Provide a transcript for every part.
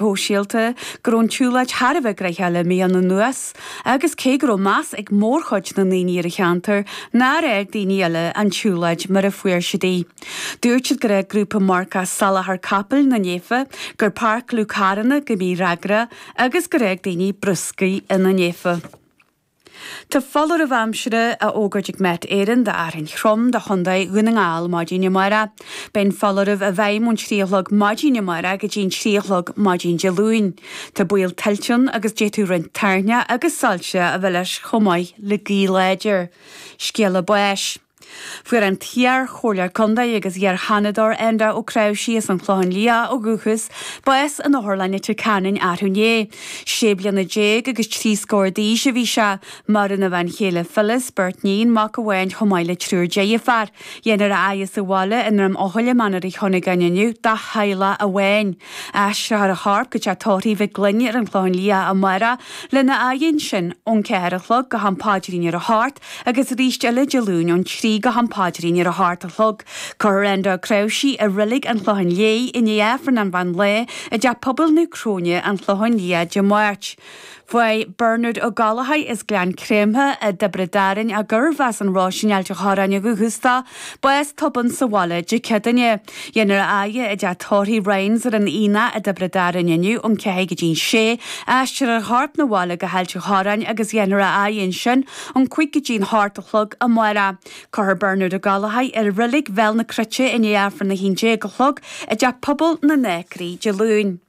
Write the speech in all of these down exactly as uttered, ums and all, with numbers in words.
Shóisialta go raibh an tsiúlóid thar a bheith gnoitheach le míonna anuas agus cé go raibh meas ag mórchuid na ndaoine ar an cheantar nár fhág daoine eile an tsiúlóid mar a fuair siad í. Dúirt siad gur fhág grúpa marcach salachar capaill na néife, gur páirceáladh carranna go mífhreagrach agus gur fhág daoine bruscar ina néife. Tá foláireamh aimsire á fhógairt ag Met Éireann d'fhearthainn throm do Chontae Dhún na nGall maidin amárach. Beidh an foláireamh i bhfeidhm ón trí a chlog maidin amárach go dtí an trí a chlog maidin Dé Luain. Tá baol tuilte ann agus d'fhéadfadh roinnt toirneach agus soilse a bheith leis chomh maith le gaoth láidir. Scéala báis. Fuair an t-iar-chomhairleoir contae agus iar-Sheanadóir Enda Ó Cnáimhsí as an Chlochán Liath ó dhúchas, bás in Otharlann Leitir Ceanainn arú inné. Sé bliana déag agus trí scór d'aois a bhí sé. Maireann a bhean chéile Phyllis, beirt níon, mac amháin chomh maith le triúr deirféar. Dhéanfar a fhaire sa bhaile i nDroim Eochaille, Mainéar Uí Chuinneagáin inniu dá theaghlach amháin. Aistreofar a chorp go teach tórraimh Mhic Gloinn ar an Chlochán Liath amárach lena fhaire ansin ón ceathair a chlog go ham paidrín ar a hocht agus arís eile Dé Luain ón trí go ham paidrín ar a hocht a chlog. Cuirfear Enda Ó Cnáimhsí i Reilig an Chlocháin Léith i ndiaidh Aifreann an mheán lae i dTeach Pobail Naomh Cróine, An Clochán Liath Dé Máirt. Bhuaigh Bernard Ó Gallchóir as Gleann Creamtha i dTiobraid Árann gurbh as an Ros in Ailt an Chorráin ó dhúchas dó, bás tobann sa bhaile Dé Céadaoine. Dhéanfar a fhaire i dTeach Tórraimh Ryan's ar an Aonach i dTiobraid Árann inniu ón ceathair go dtí an sé, aistreofar a chorp 'na bhaile go hAilt an Chorráin agus dhéanfar a fhaire ansin ón cúig go dtí an hocht a chlog amárach. Cuirfear Bernard Ó Gallchóir i Reilig Bhéal na Cruite i ndiaidh Aifreann a haon déag a chlog i dTeach Pobail na nAcraí Dé Luain.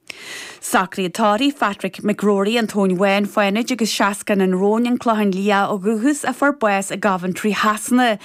Socruithe tórraimh Phatrick McGrory, An Tóin Bháin, Fánaid agus Seascann an Róin, An Clochán Liath ó dhúchas a fuair bás i gCoventry Shasana.